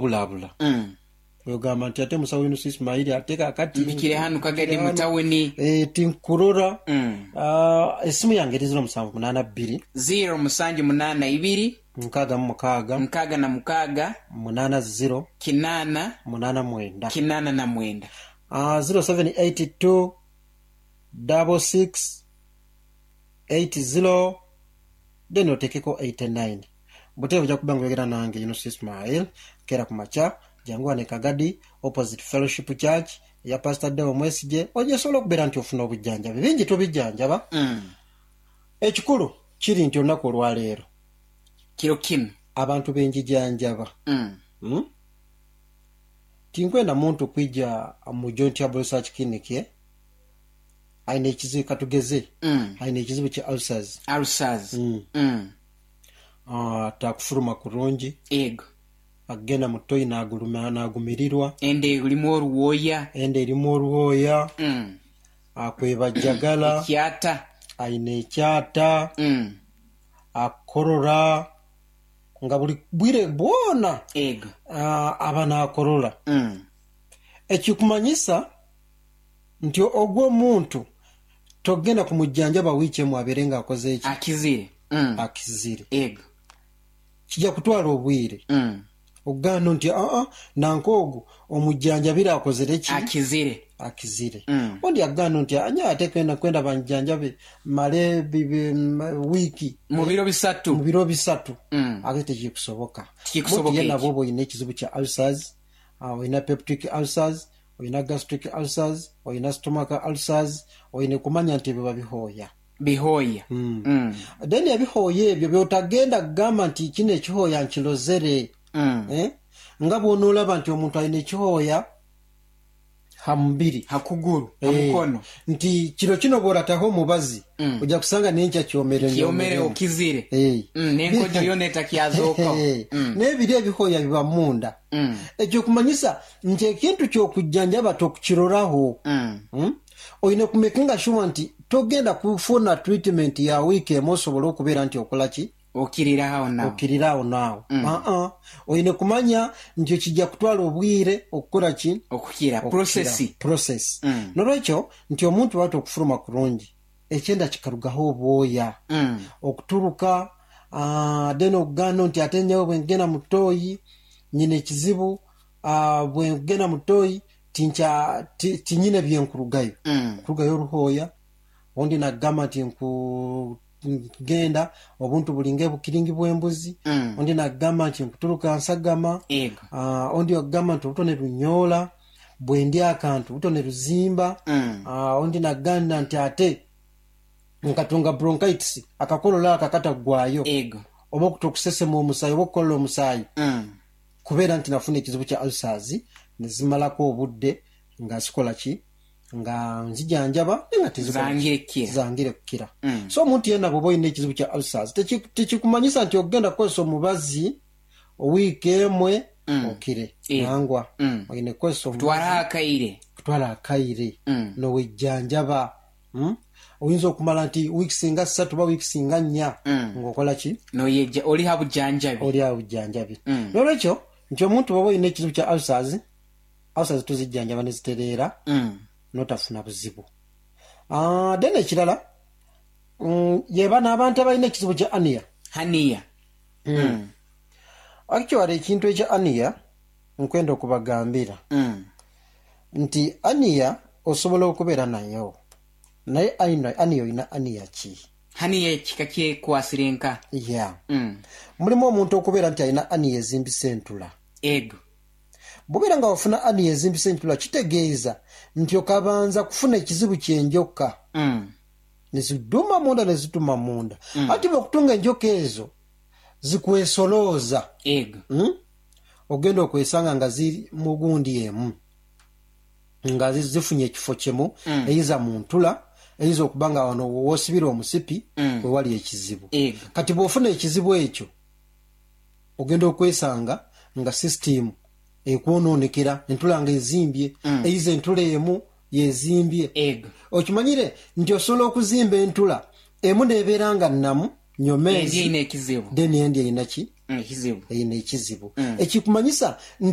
Obulaabula. Ogamba nti ate musawo Yunus Ismail ate kakati Mpikire hanu Kagadi mpikire mu hanu tawuni. Tinkurora. Esimu yange eri ziro musanvu munaana bbiri. Ziro musanju munaana ibiri. 66. 66. Munaana ziro. Kinaana. Munaana mwenda. 89. 0782 66 80 then otekeku 89. Butereevu oja kuba nga oyogera nange Yunus Ismail nkeera ku makya. Jangu ghano e Kagadi opposite Fellowship Church eya Pastor Deo Mwesigye oje osobole okubeera nti ofuna obujanjabi. Bingi tubijanjaba. Ekikulu kiri nti olunaku olwaleero Kiro kinu. abantu be njijanjaba tinkwenda muntu kwija mu Joint Herbal Research Clinic aine ekizibu katugeze aine ekizibu kya ulcers. Ulcers. Takufuluma kurungi. Ego. Agenda mu toyi naagumirirwa. Enda erimu oruwooya. Enda erimu oruwooya. Akwebajagala. Ekyata. Aine ekyata. Akorora nga buli bwire bwona. Ego. Aba naakorora. Ekikumanyisa nti ogwo omuntu togenda kumujanjaba wiiki emu abeere nga akoze ki? Akizire. Akizire. Ego. Kija kutwala obwire okugaana nti aa nanka ogu omujanjabire akozire ki? Akizire. Akizire. Ondi akugaana nti aa nyowe ate kwenda banjanjabe male wiiki. Mu biro bisatu. Mu biro bisatu. Ate tikikusoboka. Tikikusoboka Omuntu yena ekyo. bwoba olina ekizibu kya ulcers, olina peptic ulcers, olina gastric ulcers, olina stomach ulcers, olina kumanya nti ebyo babihooya. Bihooya. Then ebihooya ebyo by'otagenda kugamba nti kino ekihooya nkirozere. Nga bw'onoolaba nti omuntu alina ekihooya ha mubiri. Ha kuguru, ha mukono. Nti kiro kino bw'orataho omubazi, oja kusanga n'enkya kyomere Kyomere nyomeremu. okizire. N'enkojo yoona etakyazookaho. N'ebiri ebihooya biba munda. Eky'okumanyisa nti ekintu ky'okujjanjaba tokukiroraho. Oine kumekinga shuwa nti togenda kufuna treatment ya wiiki emu osobole okubeera nti okola ki? Okirira agho naagho. Okirira agho naagho. Aa, oine kumanya nti kija kutwala obwire okukola ki? Okukira. Process. Process. N'olwekyo nti omuntu bw'ati okufuluma kurungi, ekyenda kikarugaho obwoya, okuturuka, then okugamba nti ate nyowe bwengenda mu toyi nyine ekizibu, bwengenda mu toyi tinkya tinyine byenkurugayo. Kurugayo oruhooya, ondi nagamba nti nku Nkugenda, obuntu buli ng'ebukiringi bw'embuzi. Ondi naagamba nti nkuturuka nsagama. Ondi okugamba nti oluto ne lunyoola, bwendya akantu oluto ne luzimba. Ondi naagamba nti ate nkatunga bronchitis, akakololo ako akatagwayo, oba okusesema omusaayi oba okukolola omusaayi, kubeera nti nafuna ekizibu kya ulcers ne zimalaku obudde nga sikola ki? Nga nzijanjaba aye nga tizikola ki? Zangire kukira. Zangire kukira. So omuntu yeena bw'oba olina ekizibu kya ulcers, tikikumanyisa nti okugenda kukozesa omubazi wiiki emwe okire. Nangwa. Oine kukozesa omubazi. Kutwala akaire. Kutwala akaire n'owejanjaba. Oyinza okumala nti wiikisi nga satu oba wiikisi nga nnya ng'okola ki? N'oyeja, oli ha bujanjabi. Oli ha bujanjabi. N'olwekyo nti omuntu bw'oba olina ekizibu kya ulcers, Ulcers tuzijjanjaba ni zitereera n'otafuna buzibu. Then ekirala ye bano abantu abalina ekizibu kya hernia. Hernia. Actually ekintu ekya hernia nkwenda okubagambira nti hernia osobola okubeera nayo naye hernia olina hernia ki? Hernia kika kyekwasire nka? Yeah. Mulimu omuntu okubeera nti alina hernia ezimbisa entula. Ego. Bw'obeera nga wafuna hernia ezimbisa entula kitegeeza nti okabanza kufuna ekizibu ky'enjoka ni zidhuma munda ni zidhuma munda. Ati bw'okutunga enjoka ezo zikwesolooza, ogenda okwesanga nga ziri mu gundi emu, nga zifunye ekifo kimu, eiza mu ntula, eiza okuba nga wano w'osibira omusipi we wali ekizibu. Kati bw'ofuna ekizibu ekyo, Ogenda okwesanga nga sisitiimu ekwononekera, entula nga ezimbye, eiza entula emu yezimbye. Okimanyire nti osobola okuzimba entula emu nebeera nga namu nyomeezi, then endi erina ki? Erina ekizibu. Ekikumanyisa.